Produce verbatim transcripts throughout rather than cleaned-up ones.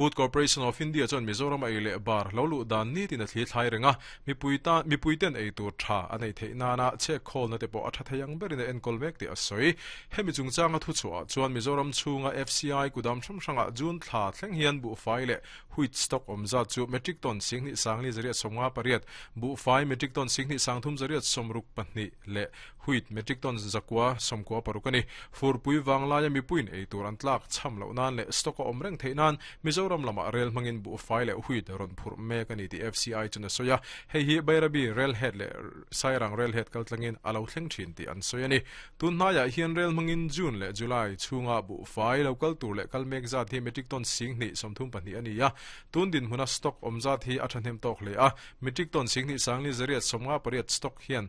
Food Corporation of India chuan Mizoram ei leh bar lo lu dan ni tin a thli thlai renga mipuita mipuiten ei tur tha anei theih nana che khawl na te pawh a tha theiang berin a enkawl mek ti a sawi. Hemi chungchanga thu chhuah chuan Mizoram chhunga F C I kudam hrang hranga June thla thleng hian buhfai leh wheat stock awmza chu metric ton singhnih sangli zariat sawmnga pariat, buhfai metric ton singhnih sangthum zariat sawmruk pahnih leh wheat metric ton zakua sawmkua paruk ani. Furpui wanglaia mipuin ei tur an tlak cham lo nan leh stock a awm reng theih nan Mizoram lama rel hmangin buhfai leh wheat rawn phurh mek ani ti F C I chuna soya. Hei hi Bairabi rail head leh Sairang rail head kaltlangin alo thleng thin ti an sawi ani. Tun hnaiah hian rel hmangin June leh July chhunga buhfai local tur leh kal mek zat hi metric ton singhnih sawmthum pahnih ani a. Tun din hmuna stock awm zat hi a thahnem tawk hle a. Metric ton singhnih sangli zariat sawmnga pariat stock hian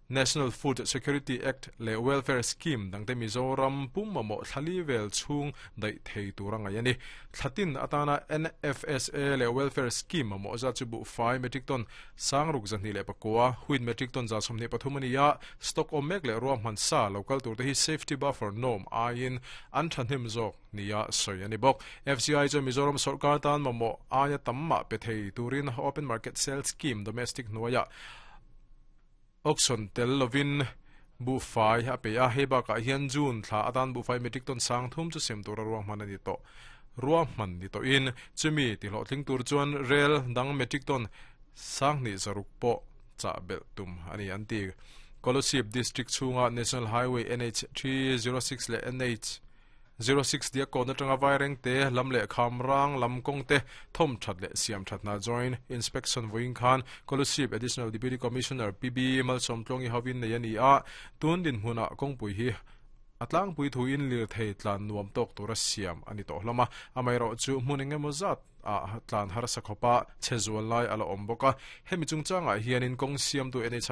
National Food Security Act leh Welfare Scheme dangte Mizoram pum mamawh thlali vel chhung daih thei tur anga ani. Thlatin atana N F S A leh Welfare Scheme mamawh za chu buhfai metric ton sangruk zahnih leh pakua, wheat metric ton za sawmhnih pathum ani a. Stock awm mek leh ruahman sa local tur te hi safety buffer norm aiin an thahnem zawk nia sawi ani bawk. F C I chu Mizoram sarkar tan mamawh aia tamma pe thei turin Open Market Sales Scheme Domestic hnuaia auction tel lovin buhfai a pe a. Hei bakah hian June thla atan buhfai metric ton sang thum chu sem tur a ruahman ani tawh ruahman ni tawh in chumi ti hlawhtling tur chuan rel dang metric ton sanghnih zaruk pawh chah belh tum ani an ti. Kolasib District chhunga National Highway N H three zero six leh N H zero six dia ko na tanga vaireng te lam leh khamrang lam kong te thom that leh siam that na joint inspection voin khan Kolasib Additional Deputy Commissioner P B Malsawmtluangi hovin nei ani a. Tun din hmuna kawngpui hi atlang pui thu in lir thei tlan nuam tok tura siam ani to hlama. Amai ro chu hmun engemaw zat a tlan har sakhopa chezual lai ala awm bawk a. Hemi chungchangah hianin kawng siam tu N H I